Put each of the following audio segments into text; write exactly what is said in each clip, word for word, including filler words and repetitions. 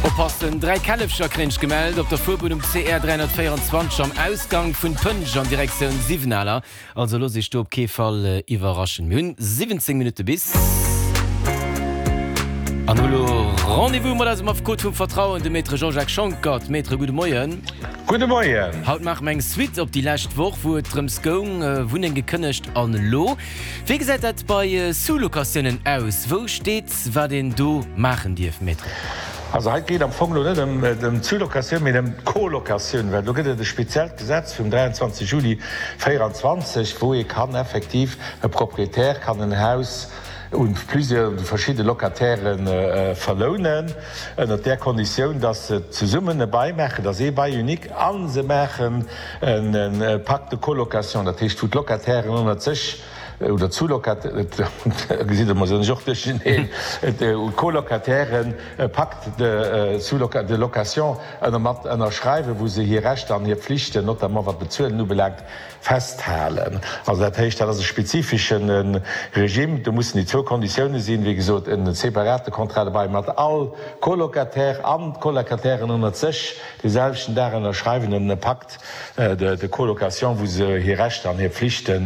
Oppassen, Dräi Källefcher kréien ech gemellt op der Fuerbunn um C R dräihonnertvéierundzwanzeg am Ausgang vun Pënsch an Direktioun Siwenaler. Also loosst iech do op kee Fall iwwerraschen. Mir hunn siwwenzéng Minutte bis an hu lo Rendez-vous mat eisem Affekot vum Vertrauen, dem Maître Jean-Jacques Schonckert. Maître, gudde Moien. Gudde Moien. Haut maache mer eng Suite op déi lescht Woch, wou et drëms goung, Wunneng gekënnegt an elo? Wéi gesäit dat bei Sous-Locatiounen aus? Wou steet, wat een do maachen dierf, Maître? Also hei geet am Fong elo net ëm d'Sous-Locatioun, mee ëm d'Colocatioun, well do gëtt et e speziellt Gesetz vum dräianzwanzeg Juli véieranzwanzeg, wou ee kann effektiv, e Proprietär kann en Haus un plusieurs, un verschidde Locataire verlounen, ënnert där Konditioun, dass se zesummen e Bail maachen, dass ee Bail unique, a se maachen e Pacte de colocation, dat heescht wou d'Locatairen ënnert sech, oder d'Sous-Locataires, gesitt Der, mer sinn ech och duercherneen, d'Colocatairen e Pacte de sous-loca-, de location ënner mat ënnerschreiwen, wou se hir Rechter an hir Pflichten, notamment wat d'Bezuelen ubelaangt, festhalen. Also dat heescht, dat ass e spezifische Regime. Do mussen déi zwou Konditiounen sinn, wéi gesot, e separate Contrat de bail mat all Colocataire an d'Colocatairen ënnert sech dee selwechten Dag ënnerschreiwen en Pacte de colocation, wou se hir Rechter an hir Pflichte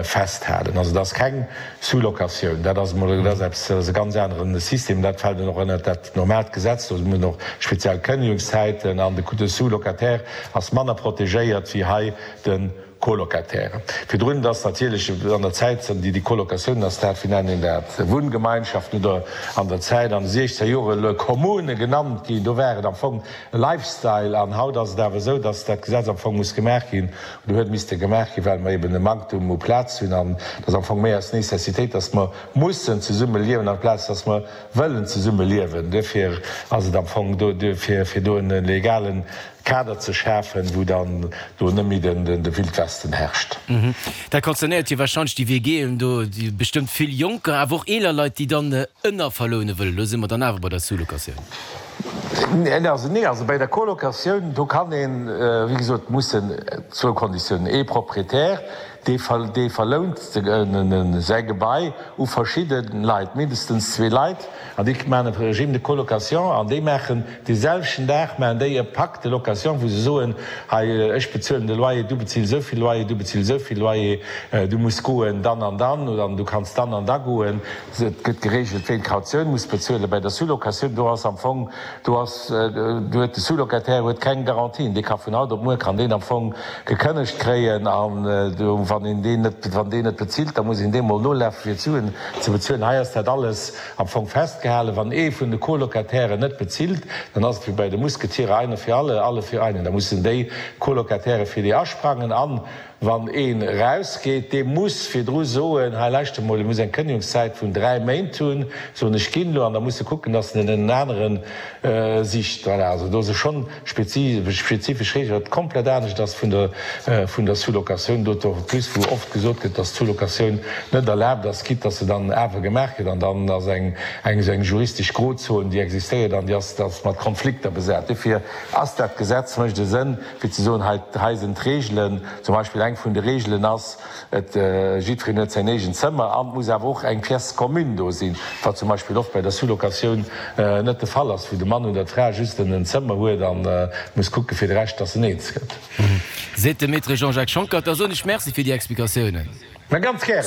festhalen. Also dat ass keng Sous-locatioun, dat ass emol, dat ass eppes, dat ass e ganz anere System, dat fält dann och ënnert dat normaalt Gesetz, do mussen och speziell Kënnegungszäiten an de Sous-locataire ass manner protegéiert wéi hei de Colocataire. Virdrun, et ass natierlech an der Zäit, déi déi Colocatiounen ass dat, wéi nennt een dat, Wunngemeinschaften oder an der Zäit an de siechzeger Jore le Kommune genannt ginn, do war et am Fong e Lifestyle an haut ass et awer esou, dass dat Gesetz am Fong muss gemaach ginn oder huet misste gemaach ginn, well mer eben e Manktum u Plaz hunn an et ass am Fong méi aus Nécessitéit, dass mer mussen zesumme liewen amplaz dass mer wëllen zesumme liewen. Duerfir ass et am Fong do, fir do e legalen Kader ze schafen, wou dann do net méi de Wildwesten herrscht. Dat concernéiert jo wahrscheinlech déi W G'en do, déi bestëmmt vill Jonker, awer och eeler Leit, déi dann ënnerverloune wëllen. Elo si mer dann awer bei der Sous-locatioun. Nee, also nee, also bei der Colocatioun, do kann een, wéi gesot, mussen zwou Konditiounen, ee Proprietär, dee dee verlount säi Gebai u verschidde Leit, mindestens zwee Leit, an déi maachen e Régime de colocation an déi maachen dee selwechten Dag maachen déi e Pacte de location, wou se soen, hei ech bezuelen de Loyer, du bezils esou vill Loyer, du bezils esou vill Loyer, du muss goen dann an dann oder du kanns dann an da goen. Et gëtt geregelt, ween d'Kautioun muss bezuelen. Bei der Sous-locatioun, do ass am Fong, do ass, do huet de Sous-locataire huet keng Garantien. Dee ka vun haut op muer kann deen am Fong gekënnegt kréien an do, wann een deen net, wann deen net bezilt, da muss een deem mol nolafe fir d'Suen ze bezuelen. Hei ass dat alles am Fong festgehalen. Wann ee vun de Colocatairen net bezilt, dann ass et wéi bei de Musketiere, einer für alle, alle für einen. Da mussen déi Colocataire fir déi asprangen an wann een erausgeet, dee muss virdru soen, hei lauschter mol, e muss eng Kënnegungszäit vun dräi Méint hunn, soen ech ginn elo, an da muss e kucken, datt en en anere sicht. Voilà, also do si schonn spezifesch Reegelen, wat komplett anescht ass vun der vun der Sous-locatioun, d'autant plus wou oft gesot gëtt, datt d'Sous-locatioun net erlaabt ass, quitte datt se dann awer gemaach gëtt, an dann ass eng eng esou eng juristesch Grozon, déi existéiert an déi ass ass mat Konflikter besat. Dofir ass dat Gesetz, mécht e Sënn, fir ze soen, hei hei sinn d'Reegelen. Zum Beispill eng vun de Reegelen ass, et jiddwereen huet säin eegent Zëmmer an et muss awer och eng Pièce commune do sinn, wat zum Beispill oft bei der Sous-locatioun net de Fall ass, wou de Mann oder d'Fra just en Zëmmer huet a muss kucke fir de Rescht, dass en eens gëtt. Seet de Maître Jean-Jacques Schonckert. Da soen ech Merci fir déi Explikatiounen. Mä ganz gären.